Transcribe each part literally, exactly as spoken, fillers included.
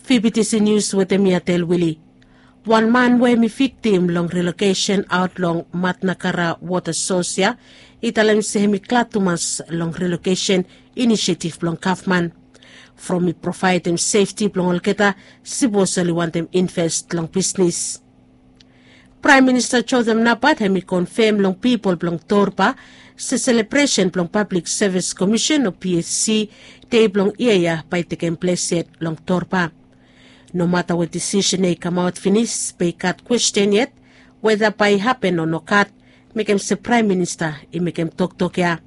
Fibitisi nius wetem mi atel wili. Wan man we hem i viktim long relokesen aot long matnakara wota sos ya i talem se hem i glad tumas long relokesen inisiativ blong gavman. From i provaedem sefti blong olgeta, sipos oli wantem invest long bisnis. Praem minista josef nabat hem i konfem long pipol blong torba se selebresen blong pablik sevis komisen o psc dei blong yia ya bae i tekem ples yet long torba. Nomata we disisen ya i kamaot finis bae i gat kwesten yet weta bae i hapen o nogat, mekem se praem minista i mekem toktok ya.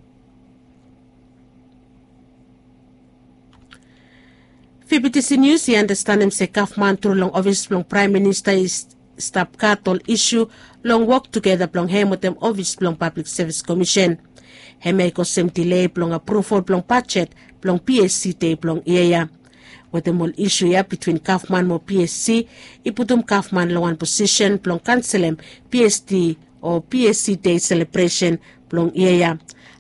Fibitisi nius i anastenem se gavman tru long ofis blong praem minista i stap gat ol isu long wok tugeta blong hem wetem ofis blong pablik sevis komisen. Hem ya i kosem dile blong apruval blong bajet blong psc dei blong yia ya. Wetem ol isu ya bitwin gavman mo psc i putum gavman long wan posisen blong kanselem psd o psc dei selebresen blong yia ya.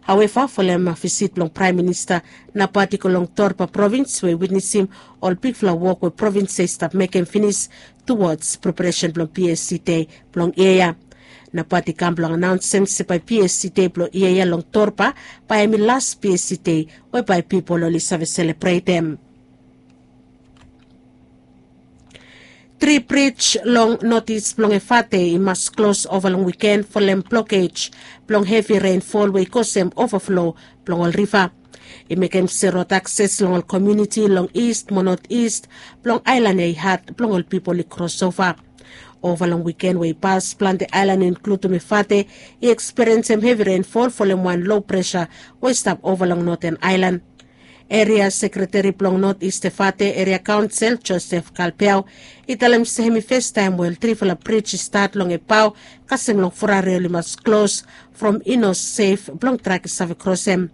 Haueva folem visit blong praem minista, nabat i go long torba provins we i witnesim ol bigfala wok we provins ya i stap mekem finis tuwods preparesen blong psc dei blong yia ya. Nabat i kam blong anaonsem se bae psc dei blong yia ya long torba bae hem i las psc dei we bae pipol oli save selebretem. Tri brij long notis blong efate i mas klos ova long wiken folem blokej blong hevi renfol we i kosem ovaflo blong ol riva. I mekem se rod akses long ol komiuniti long ist mo notis blong aelan ya i had blong ol pipol i krosova. Ova long wiken we i pas plante aelan inkludum efate i ekspiriensem hevi renfol folem wan lo presa we i stap ova long noten aelan. Eria sekreteri blong not ist efate eria kaonsel josef kalpeau i talem se hem i festaem we ol trifala brij i stat long epao kasem long forari oli mas klos from i no sef blong trak i save krosem.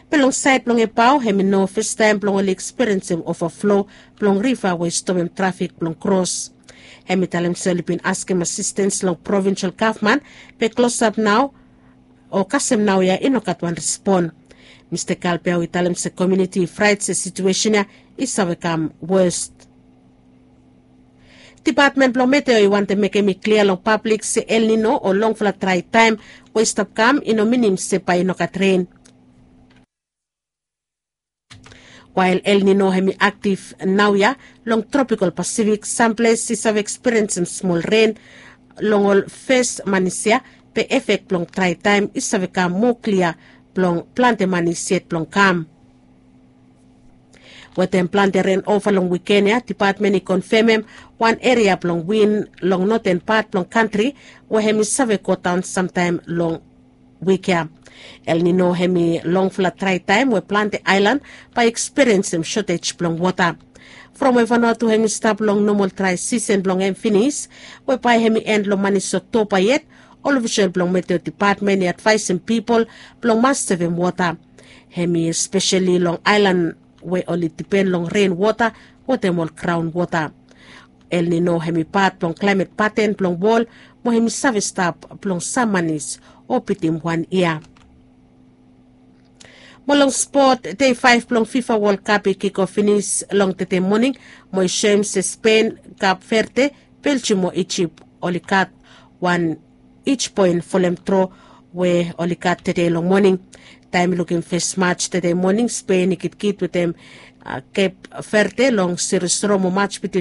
Be long saed blong epao hem i no festaem blong oli ekspiriensem ovaflo blong riva we i stopem trafik blong kros. Hem i talem se oli bin askem asistens long provinsel gavman be klosap nao o kasem naoia i no gat wan respon. Mista kalpeau i talem se komiuniti i fraet se situesen ya i save kam wos. Dipatmen blong meteo i wantem mekem i klia long pablik se elnino o longfala drae taem we i stap kam i no minim se bae i no gat ren. Wael elnino hem i aktiv naoia long tropikal pasifik samples i save ekspiriensem smol ren long ol fes manis ya, be efek blong drae taem i save kam moa klia blong plante manis yet blong kam. Wetem plante ren ova long wiken ya dipatmen i konfemem wan eria blong win long noten pat blong kantri we hem i save godaon samtaem long wik ya. Elnino hem i longfala drae taem we plante aelan bae i ekspiriensem sotej blong wota. From we vanua tu hem i stap long nomol drae sisen blong hem finis we bae hem i en long manis oktoba yet, ol ofisol blong meteo dipatmen i advaesem pipol blong mas sevem wota. Hem i espeseli long aelan we oli dipen long ren wota wetem ol graon wota. Elnino hem i pat blong klaemet paten blong wol mo hem i save stap blong sam manis o bitim wan yia. Mo long spot, dei faef blong fifa wol kap i kiko finis long tede moning mo i soem se spen, kap verde, beljim mo ijip oli gat wan ij poen folem dro we oli gat tede long moning. Taem i lukim fes maj tede moning spen i gitkit wetem kep verde long sirosro mo maj bitim